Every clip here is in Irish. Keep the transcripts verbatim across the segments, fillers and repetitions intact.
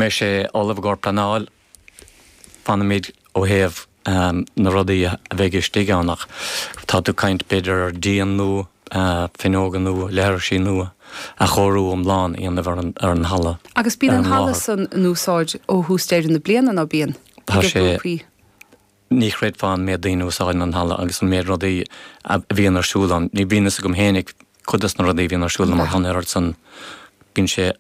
mbeidh sé ullamh i gcomhair pleanáil, fanfaimid ó thaobh na rudaí a bheidh istigh ann ach tá tú ag caint b'fhéidir ar díon nua, fuinneoga nua, leithrisí nua, athchóiriú iomlán a dhéanamh ar an ar an halla. Agus bíonn an halla san in úsáid ó thús deireadh na bliana, ná bíonn? Tá sé. Ní chreidfeá an méid daoine a úsáideann an halla agus an méid rudaí a bhíonn ar siúl ann. Ní bhíonn fhios agam fhéinig cuid dos na rudaí a bhíonn ar siúl ann mar tá an oiread san, bíonn sé,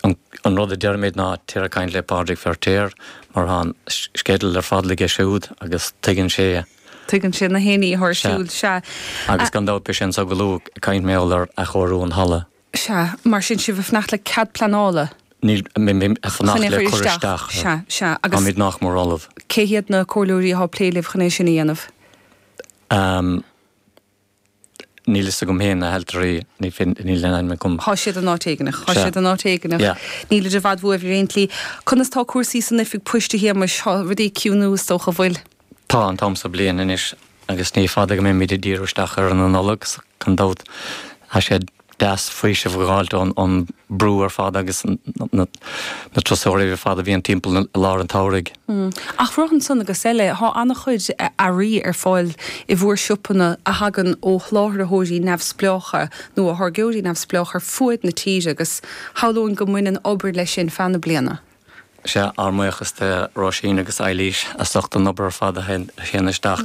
an rud a deirimid ná téir ag caint le Pádraig Feirtéar mar tá an sceideal ar fad aige siúd agus tuigeann sé. Tuigeann sé na héinní atá ar siúl, sea. Agus gan dabht beidh sé anso go luath ag caint mar gheall ar athchóiriú an halla. Sea, mar sin sibh ag fanacht le cead pleanála? Níl, ag fanacht le cur isteach. Sea, sea. Agus. Táimid nach mór ullamh. Cé hiad na comhairleoirí atá ag plé libh chun é sin a dhéanamh? Níl fhios agam féin, na hailtirí, níl aon ainm agam. Tá siad in áit éigineach. Tá siad in áit éigineach. Yeah. Nílid i bhfad uaibh ar aon tslí. Conas tá cúrsaí san oifig poist, a Shéamais? Tá rudaí ag ciúnú is dócha, bhfuil? Tá, an t-am so bliain anois agus ní fada go mbeimid ag díriú isteach ar an Nollaig, gan dabht. Tá sé deas faoiseamh a dh'fháilt ón brú ar fad agus na turasóirí ar fad a bhíonn timpeall i lár an tsamhraidh. Ach rud ansan agus eile, thá an-chuid earraí ar fáil i bhúr siopanna a thagann ó sholáthraitheoirí neamhspleácha nó ó tháirgeoirí neamhspleácha ar fuaid na tíre agus shamhlóinn go mbaineann obair leis sin feadh na bliana. Sea, ár mbuíochas do Róisín agus Eilís as ucht an obair ar fad a théann isteach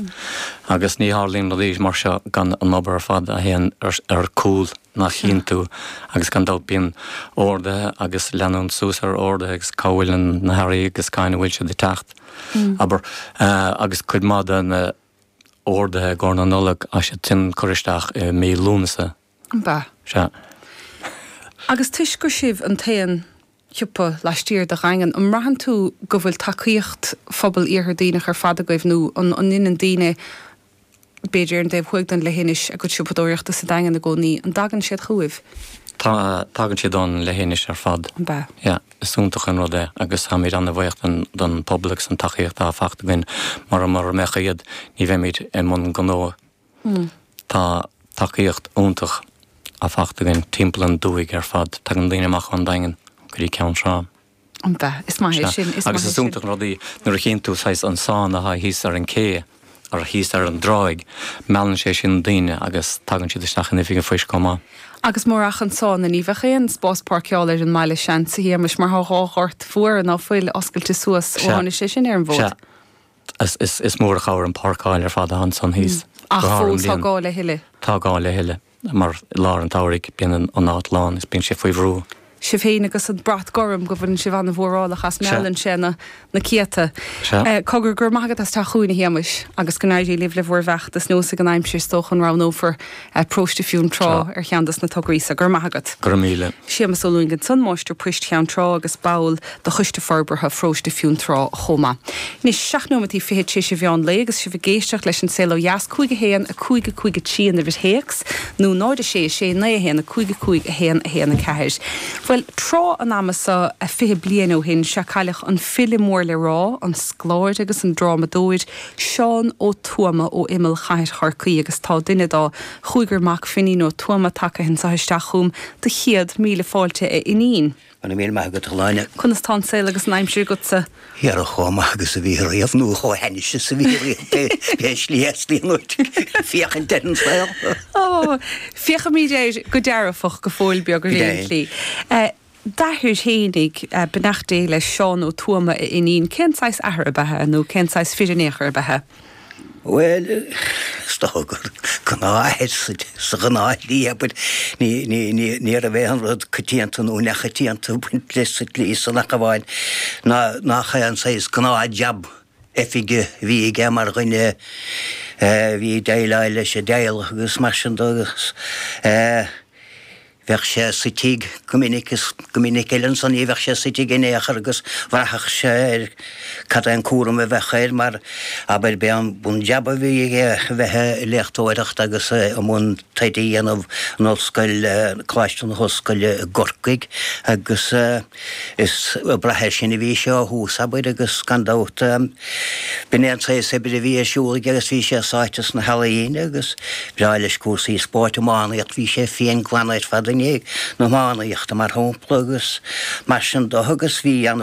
agus ní tharlaíonn rudaí mar seo gan an obair ar fad a théann ar cúl ná chinntiú agus gan dabht bíonn orduithe agus leanúint suas ar orduithe agus cá bhfuil na hearraí agus cathain a bhfuil siad ag teacht, abair, agus cuid maith de na orduithe i gcomhair na Nollag, tá siad sin curtha isteach i mí Lúnasa. Ab ea? Sea. Agus toisc gur sibh an t-aon shiopa laistiar de Dhaingean, an mbraitheann tú go bhfuil tacaíocht phobal Iarthar Duibhneach ar fad agaibh nó an ndeineann daoine, b'fhéidir ar an dtaobh thuaidh den leithinis, a gcuid siopadóireachta sa Daingean i gcónaí, an dtagann siad chugaibh? Tá, tagann siad ón leithinis ar fad. Ab ea? Yeah, is iontach an rud é agus táimid an-bhuíoch don don pobal agus an tacaíocht atá faighte againn mar mura mbeadh iad ní bheimid i mbun gnó. Tá tacaíocht iontach á faighte againn timpeall an dúthaigh ar fad. Tagann daoine amach ón Daingean go dtí Ceann Trá. Ab ea? Is maith é sin, is maith Agus é is sin. iontach an rud é nuair a chíonn tú saghas an sána atá thíos ar an cé, ar thíos ar an dtráigh, meallann sé sin daoine agus tagann siad isteach in oifig an phoist chomh maith. Agus murach an sána ní bheadh aon spás páirceála ar an mbaile, seans, a Shéamais, mar tá dhá ghort mhóra ná fuil oscailte suas ó Sea. tháinig sé sin ar an bhfód. Sea. Is is mór an chabhair an páirceáil ar fad atá ansan thíos. Ach Go hard an fós tá bhliain. gá le thuilleadh. Tá gá le thuilleadh mar i lár an tsamhraidh bíonn an áit lán is bíonn sé faoi bhrú. Sibh féin agus an brat gorm go bhfuileann sibh an-mhórálach as Sea. meallann sé na na céadta. Sea. Cogar, go raibh maith agat as teacht chugainn a Shéamais agus go n-éirí libh le bhur bhfeachtas nós ag an aimsir is dócha an roghnófar Paróiste Fionntrá Sea. ar cheann dos na tograí so. Go raibh maith agat. Go raibh míle. Séamus Ó Lúing ansan, Máistir Poist Cheann Trá agus ball de Choiste Forbartha Pharóiste Fionntrá chomh maith. Anois, seacht nóimeataí fichead tar éis an mheán lae agus sibh ag éisteacht leis An Saol Ó Dheas, cúig a haon, a cúig a cúig a trí an uimhir théacs, nó náid a sé a sé naoi a haon a cúig a cúig a haon a haon a ceathair. Bhuel, tráth an ama so fiche bliain ó shin, sea cailleadh an file mór le rá, an scoláire agus an drámadóir, Seán Ó Tuama ó imeall chathair Chorcaí agus tá duine dá chúigear mac, Finín Ó Tuama, tagtha anseo isteach chugam do chéad míle fáilte a Fhinín. Go raibh míle maith agat, a Shláine. Conas tá an saol agus an aimsir agatsa? Dhera chomh maith agus a bhí riamh, nó chomh hainnis is a bhí riamh, pé pé slí a theastaíonn uait féachaint ar an saol. Ó, féachaimid air go dearfach go fóill beag ar Go aon deimhin. tslí. D'athair fhéinig, beannacht Dé leis, Seán Ó Tuama, a Fhinín, cén saghas athar ab ea é nó cén saghas fir in aon chor ab ea é? Bhuel, is dócha gur gnáthathair sa ghnáthshlí, abair. Ní, ní, ní, ní raibh aon rud coitianta nó neachoitianta ag baint leis sa tslí san ach amháin ná, nach é an saghas gnáth-jab oifige a bhí aige mar dhuine a bhí ag déileáil leis an dteaghlach agus mar sin de agus eh, Bheadh sé sa tigh go minic is go minic eile ansan ní bheadh sé sa tigh in aon chor agus bhraithfeadh sé ar cad é an cúram a bheadh air mar, abair, b'é an bun-jab a bhí aige a bheith ag léachtóireacht agus i mbun taighde a dhéanamh in Ollscoil, Coláiste na hOllscoile i gCorcaigh agus is ag brath air sin a bhí sé ó thús, abair, agus gan dabht B'in é an saghas oibre a bhí ar siúl aige agus bhí sé sáite sna healaíona agus bhreá leis cúrsaí spóirt iománaíocht, bhí sé fiain glan ar fad i ndiaidh na hiománaíochta mar shampla agus mar sin de agus bhí an